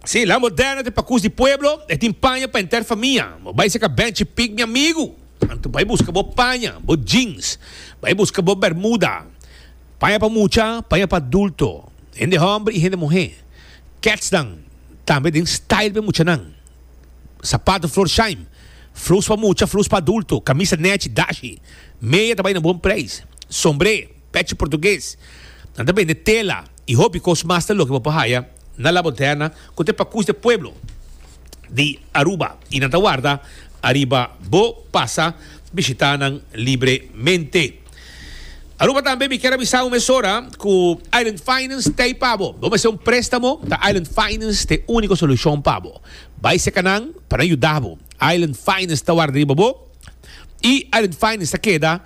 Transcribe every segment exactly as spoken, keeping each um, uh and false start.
Si, La Moderna ta pakus di pueblo, e tin paña pa henter famia. Bo bai serka Benchi Pig, mi amigu. Anto bai buska bo paña, bo jeans, bai buska bo bermuda. Paña pa mucha, paña pa adulto. Hende hòmber i hende muhé. Kètsnan, tambe den style pa e muchanan. Sapato Florsheim, flus pa mucha, flus pa adulto, kamisa nèchi, dashi. Meya ta bai na bon preis. Sombré, pechi portugues. Nan ta bende tela i hopi kos mas ta loke bo por haya na La Moderna ku ta e pakus di e pueblo di Aruba i nan ta warda ariba bo pasa bishita nan libremente. Aruba tambe mi kier a bisa un mesora ku Island Finance ta ei pa bo. Bo mester un prestamo? Ta Island Finance ta e uniko solushon pa bo. Bai seka nan pa nan yuda bo. Island Finance ta warda riba bo i Island Finance ta keda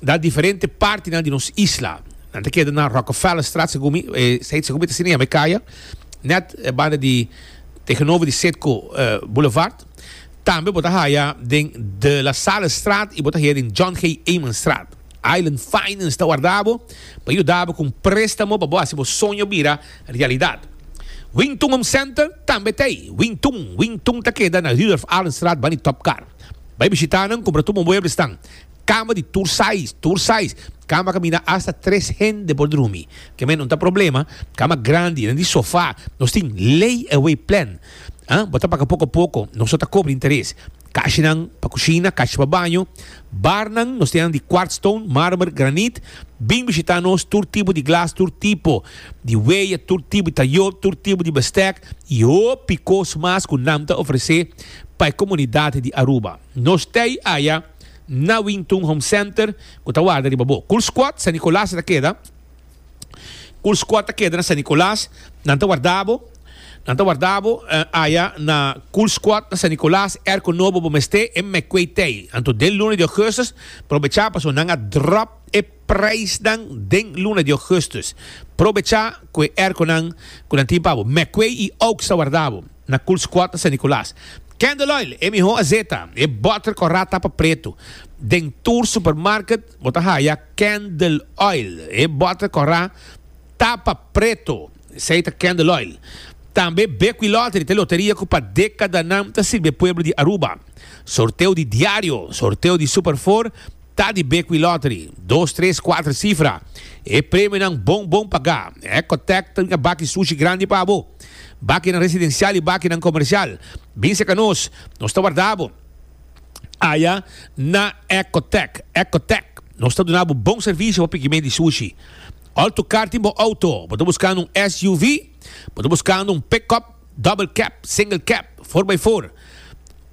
na diferente partinan di nos isla. Nan ta keda na Rockefellerstraat segun mi, segun mi ta asina yama e kaya, net banda di tegenover di Citgo Boulevard. Tambe bo ta haya den De La Sallestraat i bo ta haya den John G. Emanstraat. Island Finance ta warda bo pa yuda bo ku un préstamo pa bo hasi bo soño bira realidat. Wing Tun Home Center tambe ta ei. Wing Tun, Wing Tun ta keda na Rudolf Arendstraat banda di Top Car. Bai bishita nan, kumpra tur bo mueblesnan. Kama di tur size, tur size. Kama kaminda asta tres hende por drumi. Ke men no ta problema. Kama grandi, nan di sofa. Nos tin lay away plan. Ah, bo ta paga poko poko, nos no ta kobra interes. Kashinan pa kushina, kashi pa baño. Barnan, nos tin nan di quartz stone, marmer, granit. Bin bishita nos, tur tipo di glas, tur tipo di weya, tur tipo di tayo, tur tipo di bestek y hopi kos mas ku nan ta ofrese pa e komunidat di Aruba. Nos t'ei aya. Na Wintun Home Center ku ta warda riba bo. Cool Squad San Nicolas ta keda. Cool Squad ta keda na San Nicolas. Nan ta warda bo. Nan ta warda bo aya na Cool Squad na San Nicolas. Airco nobo bo mester e mecwey tey. Anto den luna di augustus probecha pasobra nan a drop e prijsnan den luna di augustus. Probecha ku e airconan ku nan tin pa bo. Mecwey y Oaks ta warda bo na Cool Squad na San Nicolas. Candle oil, e mihó azeta, e bòter kòrá tapa pretu. Den tur supermarket bo ta haya candle oil, e bòter kòrá tapa pretu. Esei ta candle oil. Tambe Bequi Lottery ta e loteria ku pa dékadanan ta sirbi e pueblo di Aruba. Sorteo di diario, sorteo di Super Four ta di Bequi Lottery. Dos, tres, kuater sifra. E premionan bon bon pagá. Ecotec ta bringa baki sushi grandi pa bo. Bakinan residencial y bakinan comercial. Bin cerca nos, nos ta warda bo aya na Ecotec. Ecotec, nos ta duna bo bon servicio pa piki medio di sushi. All to car tin bo auto. Bo ta buscando un S U V? Bo ta buscando un pick-up, double cab, single cab, four by four?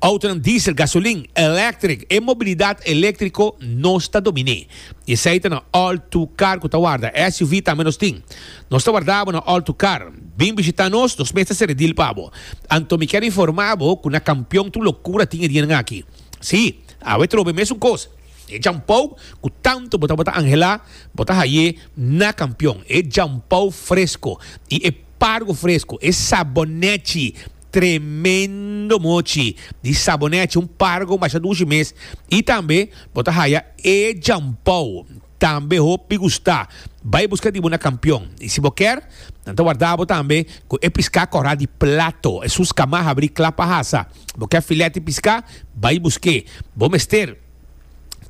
Autonan diesel, gasolin, electric, e mobilidad electrico nos ta dominé. Y esey ta na All To Car cu ta warda. S U V tambe nos tin. Nos ta warda bo na All To Car. Bin bishita nos, nos mes ta sere deal pa bo. Anto mi kier informa bo cu na Campeon tur locura tin e dianan aki. Si, awe trobe mesun cos. E jampou cu tanto bo tabata anhela, bo ta haye na Campeon. E jampou fresco y e pargo fresco, e sabonechi. Tremendo mochi di sabonechi, un pargo masha dushi mes. Y tambe bo ta haya e jampou, tambe hopi gusta. Bay busca di bo na Campeon. Y si bo kier, nan ta warda bo tambe cu e pisca cora di plato. Esun scama habri cla pa hasa. Bo kier filet di pisca, bay busque. Bo mester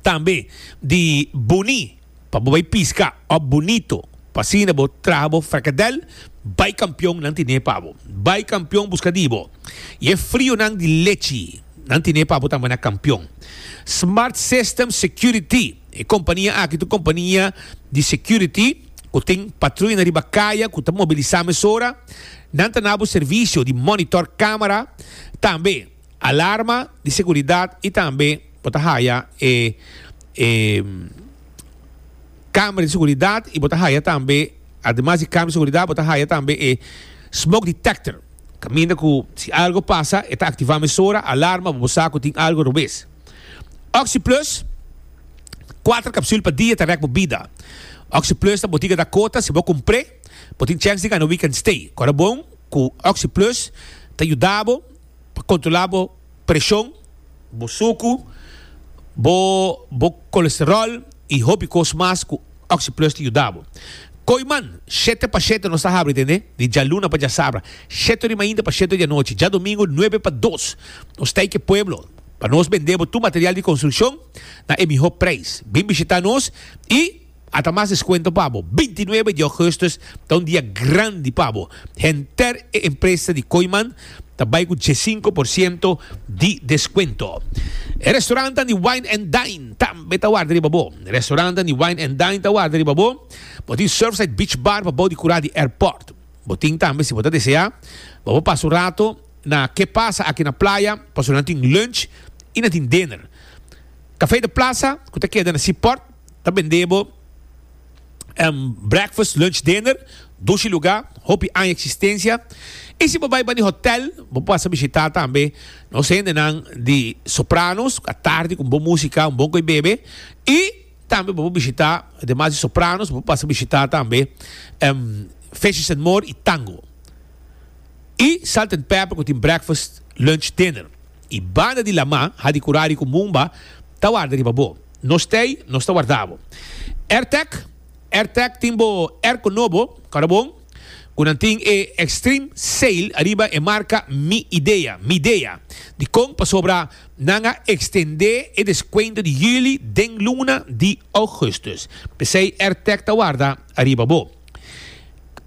tambe di buni. Pa bo bai pisca op bunito, pa asina bo traha bo frikadel, bai Kampion nan tine pa bo. Bai Kampion buska di bo. Y e frionan di lechi nan tine pa bo tambe na Kampion. Smart System Security, e kompania aki ta un kompania di security ku tin patruyanan riba kaya ku ta mobilisa mesora. Nan ta na bo servisio di monitor kamera, tambe alarma di seguridad y tambe bo ta haya e e Camera di seguridad y bo ta haya tambe, ademas di camera di seguridad, bo ta haya tambe e smoke detector. Caminda cu si algo pasa e ta activa mesora, alarma, bo bo sa cu tin algo robes. OxyPlus, kuater capsul pa dia ta rek bo bida. OxyPlus ta botica Dakota, si bo cumpr'e, bo tin chance di gana weekend stay. Cora bon cu OxyPlus ta yuda bo pa controla bo presion, bo sucu, bo bo colesterol y hopi cos mas cu OxyPlus ta yuda bo. Kooyman, shete pa shete nos ta habri, tende? Di djaluna pa djasabra. Shete di mainta pa shete di anochi. Djadomingo nuebe pa dos. Nos ta ku pueblo pa nos bende bo tur material di konstrukshon na e mihó preis. Bin bishitá nos i ata mas deskuento pa bo. Bintinuebe di ougùstùs ta un dia grandi pa bo. Henter e empresa di Kooyman ta bai ku diesinku porshento di deskuento. E restaurant di Wine and Dine tambe ta warda riba bo. Restaurant di Wine and Dine ta warda riba bo. Bo tin Surfside Beach Bar pa bou di kurá di airport. Bo tin tambe, si bo ta deseá, bo pasa un ratu na Ke Pasa aki na Playa, pasobra nan tin lunch i nan tin dinner. Café de Plaza, ku ta keda na Seaport, ta bende bo um, breakfast, lunch, dinner, dushi lugá, hopi aña eksistensia. I si bo bai pa hotel, bo por bishitá tambe, nos hendenan di Sopranos, atardi ku bon músika, un bon kos bebe. I tambe bo por bishitá, ademas di Sopranos, bo por bishitá tambe um, Fishes and More i Tango. I Salt and Pepper, ku tin breakfast, lunch, dinner. I banda di laman, Hadicurari ku Mumba, ta warda riba bo. Nos tei, nos ta warda bo. AirTech, AirTech tin bo airco nobo, karbon, ku nan tin e Extreme Sale ariba e marka Mi Idea, Midea. Dikon? Pasobra nan a ekstendé e deskuento di yüli den luna di ougùstùs. P'esei AirTech ta warda ariba bo.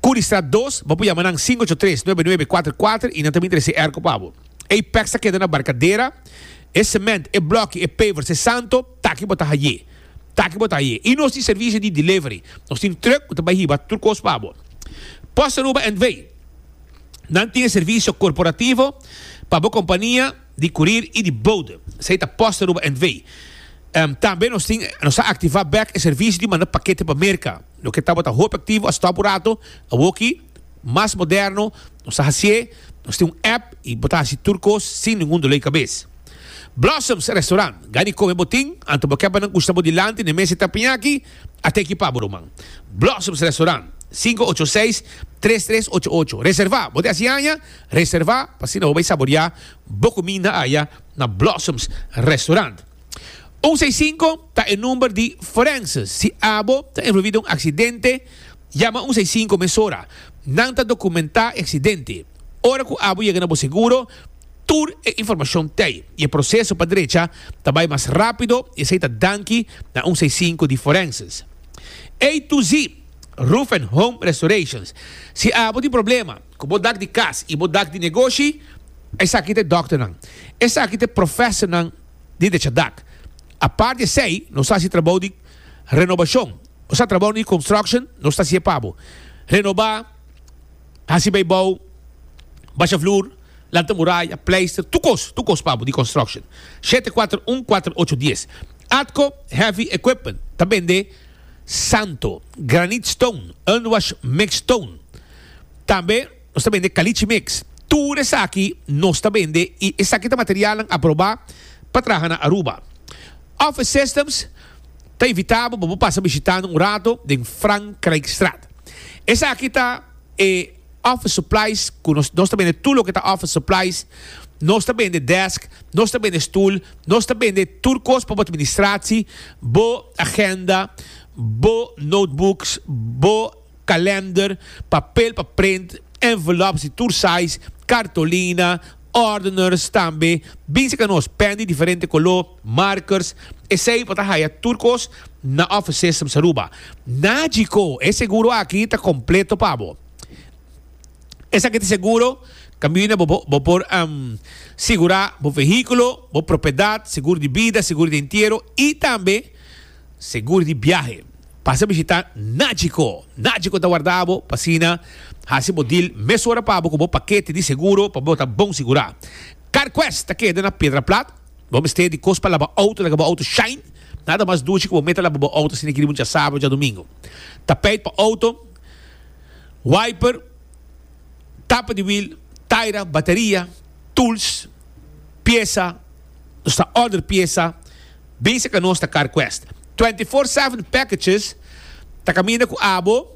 Curista dos, bo por yama nan sinku ocho tres, nuebe nuebe kuater kuater i nan tambe trese airco pa bo. Apex ta keda na Barcadera, e cement, e bloki, e pavers, e santo, t'aki bo ta hay'é. T'aki bo ta hay'é. I nos tin servisio di delivery. Nos tin truck ku ta bai hiba tur kos pa bo. Post Aruba N V. Nan tin servisio korporativo pa bo kompania di courier i di bode. Esei ta Post Aruba N V. Um, tambe nos tin nos a aktivá bèk e servisio di manda pakete pa Merka. Loke tabata hopi aktivo a stòp un ratu, awoki mas moderno, nos a hasi, nos tin un app i bo ta hasi tur kos sin ningun doló di kabes. Blossoms Restaurant, gani kome bo tin, anto bo ke pa nan gusta bo dilanti, na mesa teppanyaki, ata ekipá bo ruman. Blossoms Restaurant, sinku ocho seis, tres tres ocho ocho. Reservá, bo ta hasi aña, reservá, pa asina bo bai saboriá bo kuminda aya na Blossoms Restaurant. un seis sinku ta e number di forense. Si abo ta envolví den un aksidente, yama un seis sinku mesora. Nan ta dokumentá e aksidente. Ora ku abo yega na bo seguro, tur e informashon t'ei. I e proseso pa drecha ta bai mas rápido i esei ta danki na un seis sinku di forenses. A to Z, Roof and Home Restorations. Si abo tin problema ku bo dak di kas i bo dak di negoshi, esaki ta e dòkternan. Esaki ta e professornan di drecha dak. Aparte di esei, nos ta hasi trabou di renobashon. Nos ta trabou di construction, nos ta hasi pa bo. Renobá, hasi bijbouw, basha vloer, lanta muraya, pleister, tur kos, tur kos pa bo di construction. shete kuater un, kuater ocho dies. Atco Heavy Equipment, ta bende santo, granite stone, unwash mixed stone. Tambe nos ta bende caliche mix. Tur esaki nos ta bende i esaki ta material aprobá pa traha na Aruba. Office Systems ta invitá bo pa pasa bishitá un ratu den Frankrijkstraat. Esaki ta e office supplies, ku nos, nos ta bende tur loke ta office supplies, nos ta bende desk, nos ta bende stoel, nos ta bende tur kos pa administratie, bo agenda, bo notebooks, bo kalender, papel pa print, envelopes di tur size, cartolina, ordeners tambe, bin serka nos, pen di diferente koló, markers, esei bo ta haya tur kos na Office Systems Aruba. Nagico, e seguro aki ta kompleto pa bo. Esaki ta seguro, kaminda bo, bo por um, sigurá bo vehíkulo, bo propiedat, seguro di bida, seguro di entiero i tambe seguro di biahe. Pasa bishitá Nagico. Nagico ta warda bo, pa asina, hasi bo deal mesora pa bo ku bo pakete di seguro, pa bo ta bon sigurá. CarQuest ta keda na Piedra Plat. Bo mester di kos pa laba outo, laga bo outo shine. Nada mas dushi ku bo meta laba bo outo asina ku djasabra, djadumingu. Tapijt pa outo, wiper, tapa di wiel, taira, bateria, tools, piesa, nos ta order piesa, bin serka nos ta CarQuest. twenty-four seven packages, ta kaminda ku abo,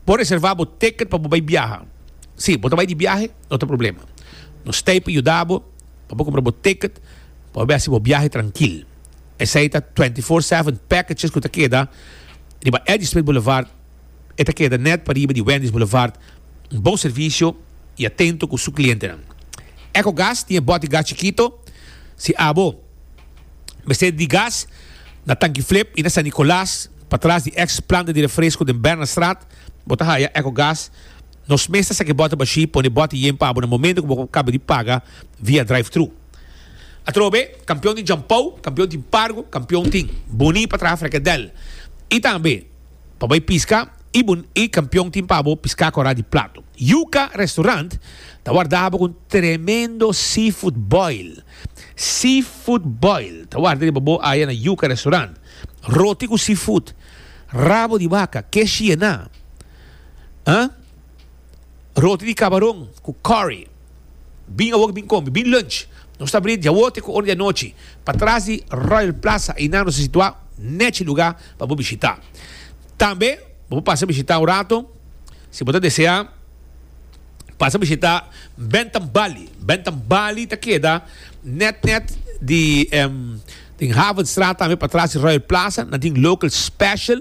por reservá bo ticket pa bai biaha. Si, bo bai di biahe, no tin problema. Nos ta yuda bo, pa kumpra bo ticket, pa bai bo biahe trankil. Esei ta twenty-four seven packages ku ta keda riba Eddie Smith Boulevard. E ta keda net pariba di Wendy's Boulevard. Un bon servicio y atento cu su clientenan. Ecogas tin bote gas chikito. Si abo mester di gas na Tanki Flip y na San Nicolas, patras di ex planta di refresco den Bernardstraat, bo ta haya Ecogas. Nos mes ta saca bote bashi, pone bote yen pa abo na momento cu bo caba di paga via drive-thru. Atrobe, Campeon tin jampou, Campeon tin pargo, Campeon tin boni pa traha frikadel. Y tambe pa bay pisca y bun y Campeon tin pa bo pisca cora di plato. Yuca Restaurant ta warda bo cu un tremendo seafood boil. Seafood boil ta warda riba bo aya na Yuca Restaurant. Roti cu seafood, rabo di baca, keshi yena, ah? Roti di cabaron cu curry. Bin awor bin come, bin lunch. Nos ta habri diawote cu ora di anochi. Patras di Royal Plaza einan nos ta situa, nechi luga pa bo bishita. Tambe bo por pasa bishita un rato si bo ta desea pasa bishita Bentham Bali. Bentham Bali ta keda net net di den Havenstraat tambe patras di Royal Plaza. Nan tin local special,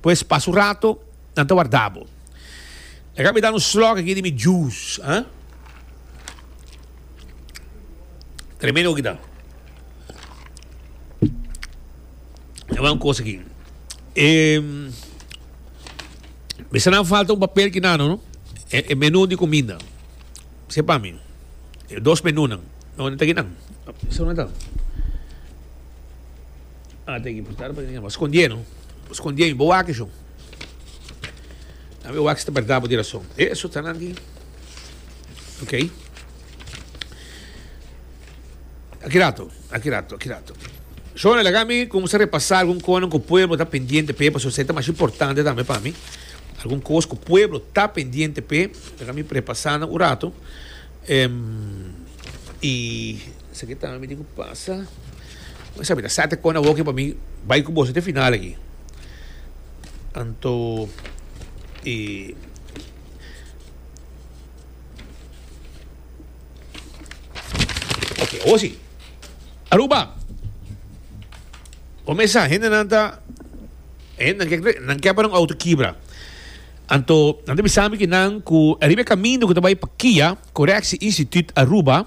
pues pasa un rato, nan ta warda bo. Laga mi da un slok aki di mi juice, ah. Tremendo aki ta. E un cosa aki. E, mester nan falta un papel ki nano, no? E, e menu di comida. Sepa mi. E dos menunan. No, no ta aki nan. Eso no ta. Ah, ta aki. Scondié, no? Scondié, bo wak eso. Dame wak si ta berdad bo di rason. Eso ta nan aki. Ok. Aki rato, aki rato, aki rato. Shona, laga mi cuminsa repasa algun conan cu pueblo ta pendiente p'e, pasobra esei ta mas importante tambe pa mi. Algun cos cu pueblo ta pendiente p'e, laga mi repasa nan un rato. Em, y esaki tambe mi tin cu pasa. Bo sabi, ta sete con awo aki pa mi bai cu boso te final aki. Anto, y ok, awo si. Aruba! Bo mesa, hendenan ta, hendenan ke, nan ke pa nan auto kibra. Anto, nan ta bisa mi ki nan ku ariba e kaminda ku ta bai pa Kia, Correctie Instituut Aruba,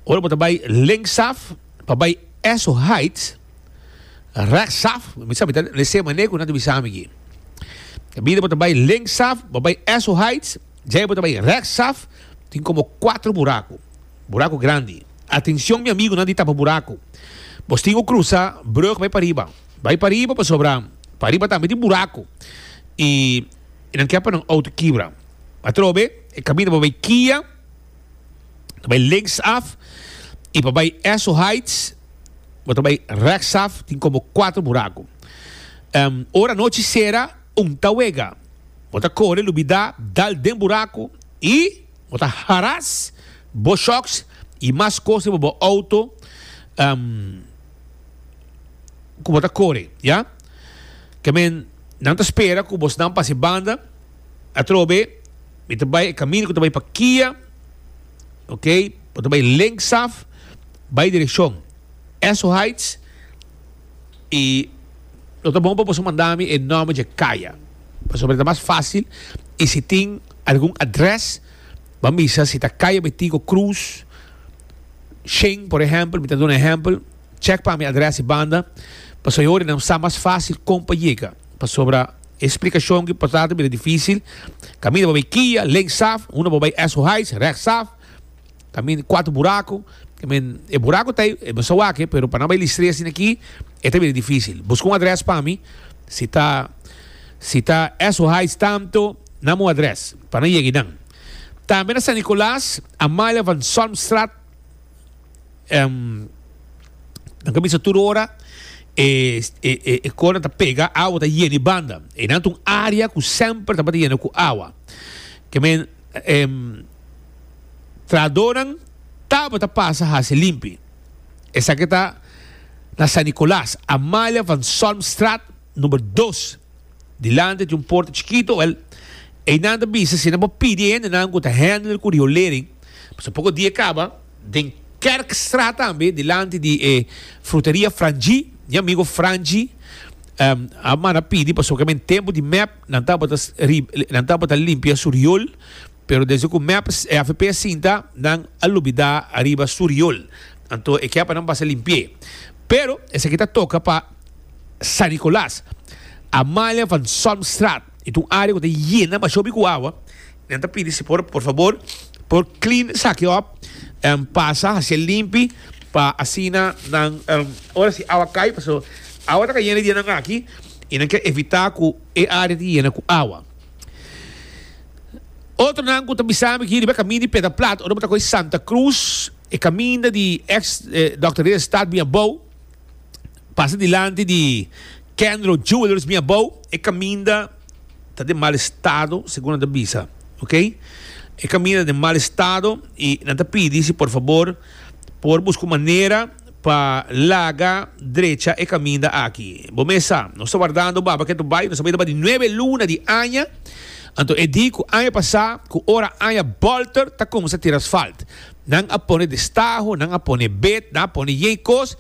ora bo ta bai linksaf pa bai Esso Heights, rechtsaf, mi sa mi ta lese mane ku nan ta bisa mi ki. Kaminda bo ta bai linksaf pa bai Esso Heights, djei bo ta bai rechtsaf, tin komo kuater buraku, buraku grandi. Atencion mi amigunan di tapa buraku. Bos tin ku krusa brug bai pariba. Bai pariba pasobra pariba tambe tin buraku i nan ke pa nan auto kibra. Atrobe e kaminda pa bai Kia ta bai linksaf i pa bai Esso Heights bo ta bai rechtsaf tin komo kuater buraku. Ora nochi sera un ta wega. Bo ta kore lubida dal den buraku i bo ta haras bo shocks i mas kos riba bo auto ku bo ta kore, ya. Ke men nan ta spera ku bosnan pasa e banda atrobe mi ta bai e kaminda ku ta bai pa Kia, ok, bo ta bai linksaf bai direkshon Esso Heights i lo ta bon pa boso manda mi e nòmber dje kaya pasobra ta mas fásil i si tin algun adrès Ban bisa si ta Kaya Betico Cruz shen por ehempel, mi ta duna ehempel, check pa mi adres y banda, pasobra e ora nan sa mas facil con pa yega, pasobra e splicacion ki por ta ta bira dificil, caminda bo bay Kia, linksaf, unda bo bay Esso Heights, rechtsaf, caminda cuatro buraco, e buraco ta ey, e bo sa wak, pero pa nan bay listr'e asina aki, e ta bira dificil. Busca un adres pa mi, si ta si ta Esso Heights tanto, nan un adres, pa nan yega eynan. Tambe na San Nicolas, Amalia van Solmstraat, nan ka bisa tur ora e e e kona ta pega, awa ta yena e banda. Einan ta un area ku semper tabata yena ku awa. Ke men trahadornan tabata pasa hasi limpi. Esaki ta na San Nicolas, Amalia van Solmstraat number dos. Dilanti di un porta chikito, wel, einan ta bisa si nan por pidi e hendenan ku ta handle ku riolering, pasobra poko dia kaba den Kerkstraat tambe dilanti di e fruteria Frangie, mi amigo Frangie, Um, a manda pidi pasobra den tempo di M E P nan tabata nan tabata limpia su riool, pero desde cu M E P A V P sinta, nan a lubida ariba su riool. Anto e kier pa nan pasa limpia. Pero esaki ta toca pa San Nicolas. Amalia van Solmstraat. E un area cu ta yena masha hopi cu awa. Nan ta pidi si por por fabor por clean esaki op um, pasa haci limpi pa asina nan um, ora si awa cay, paso awa ta cayendo dia nan aki y nan kier evita cu e area ta yena cu awa. Otro nan cu ta bisami aki riba caminda di Piedra Plat, ora ta Santa Cruz, e caminda di ex eh, Doctor Stad bin abou, pasa dilanti di Kendro Jewelers bin abou, e caminda ta den mal estado, segun nan ta bisa, ok? E caminda den mal estado y nan ta pidi si por fabor por busca manera pa laga drecha e caminda aki. Bo mesa, nos ta wardando baba cu ta bay, nos ta di nuebe luna di aña. Anto e di cu aña pasa, cu ora aña bolter, ta cuminsa tira asfalt. Nan a pone destaho, nan a pone bet, nan a pone yecos.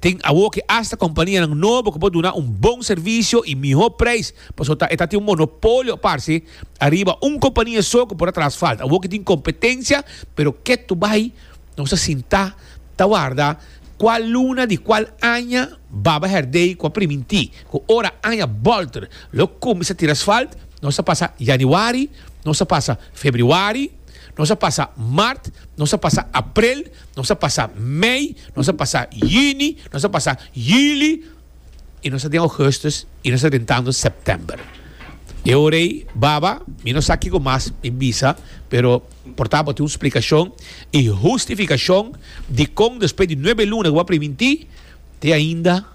Tin awo cu hasta compania nan nobo cu por duna un bon servicio y miho prijs. Paso ta eta tin un monopolio parce ariba un compania so cu por traha asfalt. Awo cu tin competencia, pero keto bay nos a sinta ta warda cual luna di cual aña Baba Herdey cu a priminti cu ora aña bolter lo cuminsa tira asfalt. Nos a pasa januari, nos a pasa februari, nos a pasa maart, nos a pasa april, nos a pasa mei, nos a pasa juni, nos a pasa juli y nos ta den augustus y nos ta drentando september. E ora ey, Baba, mi no sa kico mas mi bisa, pero por tanto tin un splicacion y hustificacion di con despues di nuebe luna cu a priminti, te ainda